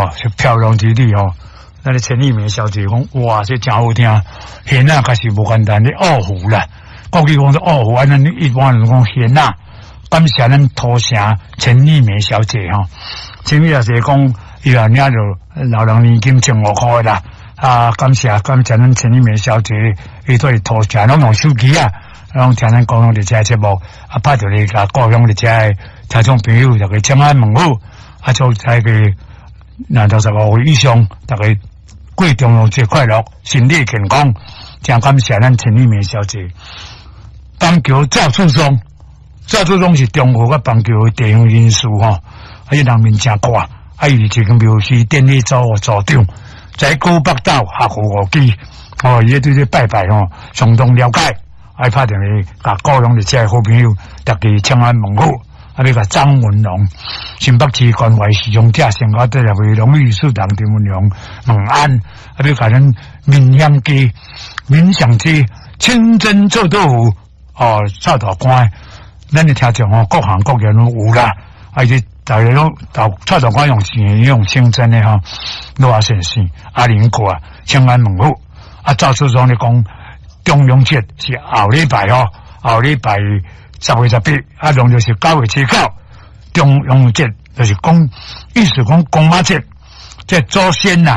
哦，是飄浪之旅吼。咱的陳麗梅小姐講，哇，這誠好聽，弦仔確實無簡單，咧二胡啦，國語講做二胡，啊，咱一般人講弦仔。感謝咱土城陳麗梅小姐吼，陳麗小姐講，伊也領著老人年金1500塊啦。啊，感謝感謝咱陳麗梅小姐，伊對土城攏用手機啊，攏聽咱講佇這節目，啊，拍著咧共故鄉佇遮聽眾朋友，逐家請安問好，啊，祝大家若65歲以上，逐家過重陽節快樂，身體健康，誠感謝咱陳麗梅小姐。板橋趙厝莊，趙厝莊是中和佮板橋的地方人士吼，啊，伊人面誠闊，啊，伊是一間廟是典禮組的組長，在古北島學府五基，哦，伊對這拜拜吼相當了解，愛拍電話共故鄉佇遮好朋友，逐家請安問好。啊，欲共張文龍，新北市關懷視障者生活協會榮譽理事長張文龍問安。啊，欲共咱民享街、民享街清真臭豆腐哦，臭大官，咱的聽眾哦，各行各業攏有啦。啊，伊逐家攏臭大官用錢用清真的吼，羅阿先生、阿林哥啊，請安問好。啊，趙厝莊咧講重陽節是後禮拜吼，後禮拜10月18，啊，農曆是9月初9。重陽節就是講，意思講公媽節，這祖先呐。